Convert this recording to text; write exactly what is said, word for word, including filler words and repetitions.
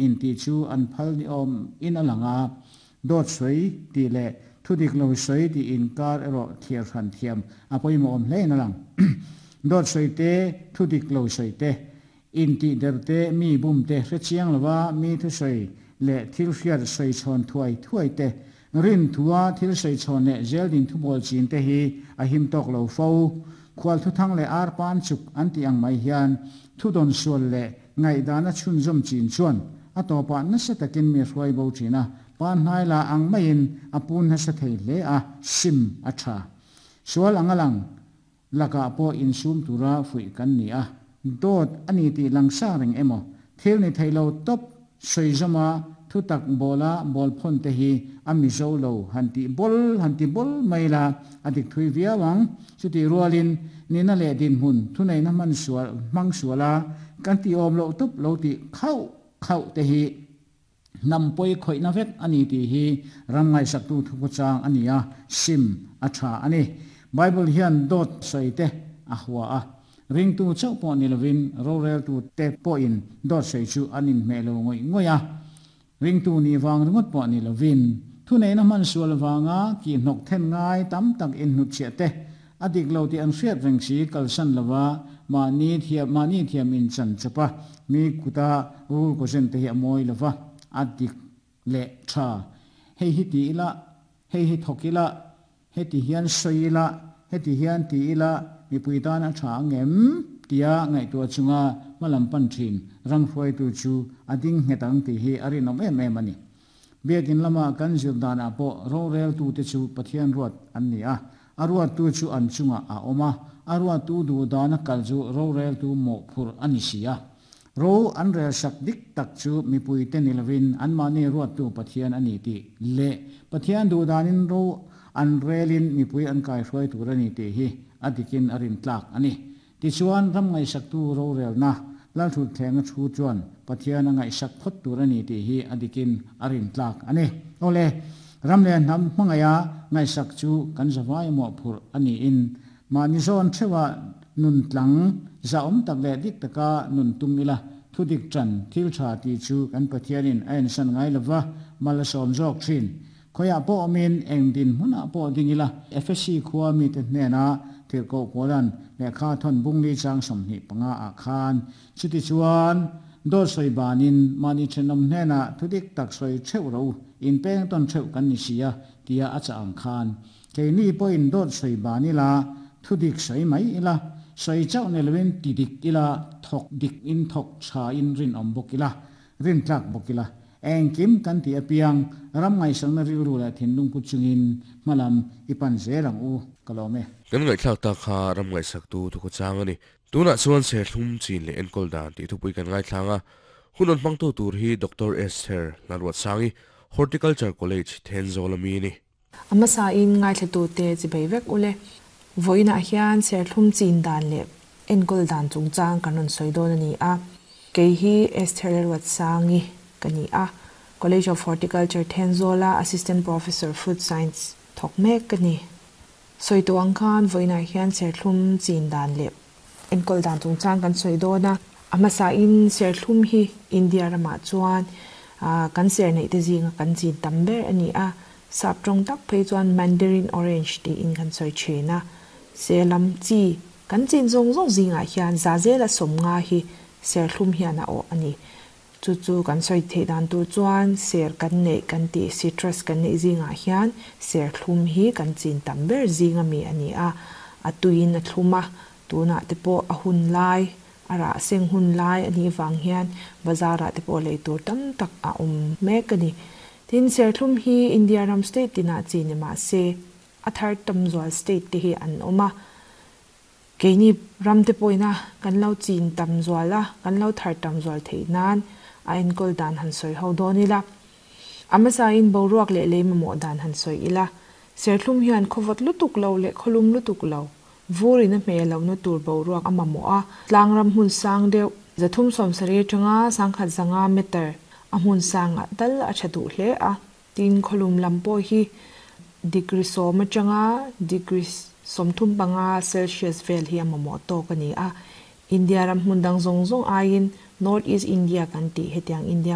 in ti chu an phal ni awm in a lang a, dawt sawi tih leh thudik lo sawi tih inkar erawh thliar hran thiam a pawimawh awm hle in a lang. Dawt sawi te, thudik lo sawi te, intih der te, mi bum te hre chiang lova mi thusawi leh thil hriat sawi chhawn thuai thuai te, rin thua thil sawi chhawn leh zel din thubawl chin te hi a him tawk lo fo. Khual thuthang leh arpan chuk an tih ang mai hian thudawn sual leh ngaihdana chhunzawm chin chuan a tawpah nasa takin mi hruai bo thin a, pan hnai la ang maiin a pun nasa thei hle a, sim a tha. Sual ang a lang lakah pawh insum tura fuih kan ni a, dawt a ni tih langsa reng emaw thil ni thei lo tawp sawi zawma thutak bawla bawl phawn te hi a mizo lo han tih bawl han ti bawl mai la a dik thui viau ang. Chutih rualin nihna leh dinhmun thuneihna hman sual hmang suala kan tih awm loh tawp lo tih khauh khauh te hi hnam pawi khawihna vek a ni tih hi ram ngaihsaktu thukhawchang a ni a, sim a tha a ni. Bible hian dawt sawi te a hua a, ringtu chauh pawh ni lovin roreltu te pawhin dawt sawi chu an inhmeh lo ngawih ngawih a, ringtu nih vang ringawt pawh ni lovin thuneihna hman sual vanga kihhnawk then ngai tam tak inhnutchhiah te a dik lo tih an hriat reng si kalsan lova mahni thiam mahni thiam in chan chawp a, mi kuta rul kawzen te hi a mawi lova, a dik leh tha. Hei hi ti ila, hei hi thawk ila, heti hian sawi ila, heti hian ti ila mipui tan a tha ang em tia ngaihtuah chunga hmalam pan thin ram hruaitu chu a ding nghet ang tih hi a rinawm em em a ni. Biakin lama kan zir danah pawh roreltu te chu Pathian ruat an ni a, a ruattu chu an chungah a awm a, a ruattu duh dana kal chu roreltu mawhphurh a ni si a. Ro an rel sak dik tak chu mipui te ni lovin anmahni ruattu Pathian a ni tih leh Pathian duh danin ro an relin mipui an kaihruai tur a ni tih hi a dikin a rin tlak a ni. Tichuan ram ngaihsaktu rorelna lalthutthleng a thu chuan Pathian a ngaihsak phawt tur a ni tih hi a dikin a rin tlak a ni. Awle, ram leh hnam hmangaia ngaihsak chu kan zavai mawhphurh a niin mahni zawn theuha nun tlang zahawm tak leh dik taka nun tum ila, thudik tan thil tha tih chu kan Pathianin a ensan ngai lova mal a sawm zawk thin. Khoiah pawh awmin eng din hmunah pawh ding ila, Efesi khua mite hnena tirhkoh Paulan lehkha thawn bungli chang sawmhnih panga ah khan chuti chuan dawt sawi banin mahni thenawm hnena thudik tak sawi theuh ro in peng tawn theuh kan ni si a tia a cha ang khan keini pawhin dawt sawi ban ila thudik sawi mai ila, sawi chauh ni lovin ti dik ila, thawk dik in thawk tha in rin awm bawk ila, rin tlak bawk ila, engkim kan ti apiang ram ngaihsakna rilru leh thinlung pu chungin hmalam i pan zel ang u ka lawm e. Kan ngaihthlak tak kha ram ngaihsaktu thukhawchang a ni. Tunah chuan serthlum chin leh enkawl dan tih thupui kan ngaithlang a, hun rawn hmangtu tur hi Doctor Esther Lalruatsangi, Horticulture College, Thenzawl ami a ni. A hmasa in ngaithlatu te chi bei vek ule. Vawiinah hian serthlum chin dan leh enkawl dan chungchang kan rawn sawi dawn a ni a. Kei hi Esther Lalruatsangi ka ni a, College of Horticulture Thenzawla Assistant Professor Fruit Science thawk mek ka ni. Sawi tawh ang khan vawiinah hian serthlum chin dan leh enkawl dan chungchang kan sawi dawn a. A hmasa in serthlum hi India ramah chuan kan ser neih te zinga kan chin tam ber a ni a. Sap tawng tak phei chuan Mandarin Orange tiin kan sawi thin a. Serlam chi kan chin zawng zawng zingah hian za zela sawm nga hi serthlum hian a awh a ni. Chu chu kan sawi theih dan tur chuan ser kan neih kan tih citrus kan neih zingah hian serthlum hi kan chin tam ber zinga mi a ni a. A tuiin a thlum a, tunah te pawh a hun lai a rah seng hun lai a nih vang hian bazarah te pawh lei tur tam tak a awm mek a ni. Tin, serthlum hi India ram state tinah chi ni mah se a thar tam zual state te hi an awm a. Keini ram te pawhina kan lo chin tam zual a, kan lo thar tam zual theih nan a enkawl dan han sawi ho dawn ila. A hmasa in boruak leh lei mamawh dan han sawi ila. Serthlum hian khawvawt lutuk lo leh khawlum lutuk lo, vurin a hmeh lohna tur boruak a mamawh a. Tlang ram hmun sang deuh, zathum sawm sarih atanga sangkhat zanga meter a hmun sangah tal a tha duh hle a. Tin, khawlum lam pawh hi degree sawm atanga degree sawmthum panga Celsius vel hi a mamawh tawk a ni a. India ram hmun dang zawng zawng aiin North East India kan tih hetiang India